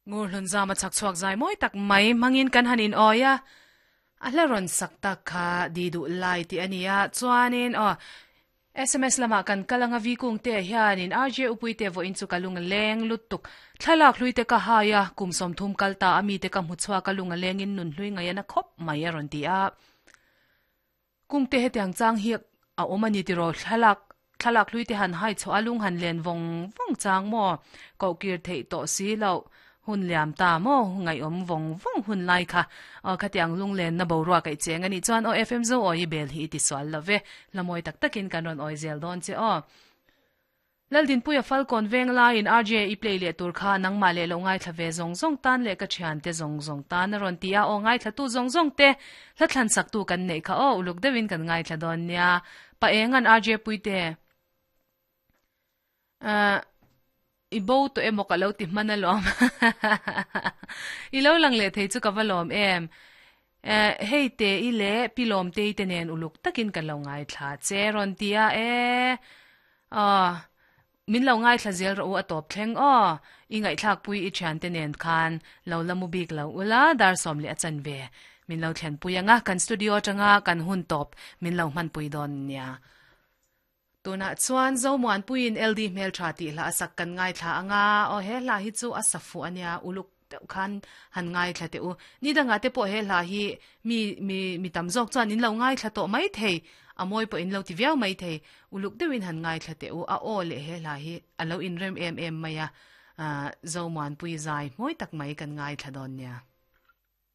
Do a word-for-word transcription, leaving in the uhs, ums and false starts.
Ngur hlun zama chak chuak zai moi tak mai mangin kan hanin oya a hla rawn sak tak kha di duh lai ti ania chuanin aw S M S lama kan kalanga vi kung te hianin R J upui te vo in chu kalung leng lutuk thlalak hlui te ka haya kum som thum kalta ami te ka hmuchwa kalung leng in nun hlui ngaiana khop mai a rawn ti a kung te hetiang chang hi a omani ti ro thlalak thlalak hlui te han hai cho alung han len vong vong chang mo ko kir thei to si lo hun liam ta mo ngai om vong vong hun lai kha a khatiang lung len na bo ruwa kai cheng ani chuan o F M zo oi bel hi ti swal love lamoi tak takin kan ron oi zel don che o Laldin puya falcon veng la in R J i play le tur kha nangma le lo ngai thlave zong zong tan le ka thian te zong zong tan ron tia o ngai thla tu zong zong te hla thlan sak tu kan nei kha o uluk dewin kan ngai thla don nia pa engan R J puite a i bo to emo ka lo ti mana lom i lo lang le thei chu ka va lom em hei te i le pilom te te nen uluk takin kan lo ngai thla che ron tia e a min lo ngai thla zel ro a top thleng o i ngai thlak pui i thian te nen khan lo lamu bik lo ula dar som le achan ve min lo thlen pui anga kan studio tanga kan hun top min lo man pui don nia tuna chuan zo muan puin L D mel tha ti la sak kan ngai thla anga o he la hi chu a safu ania uluk te khan han ngai thla te u ni danga te po he la hi mi mi mi tam jok chuan in lo ngai thla to mai thei amoi po in lo ti viau mai thei uluk deuhin han ngai thla te u a o le he la hi alo in rem em em maya a zo muan pui zai moi tak mai kan ngai thla don nia.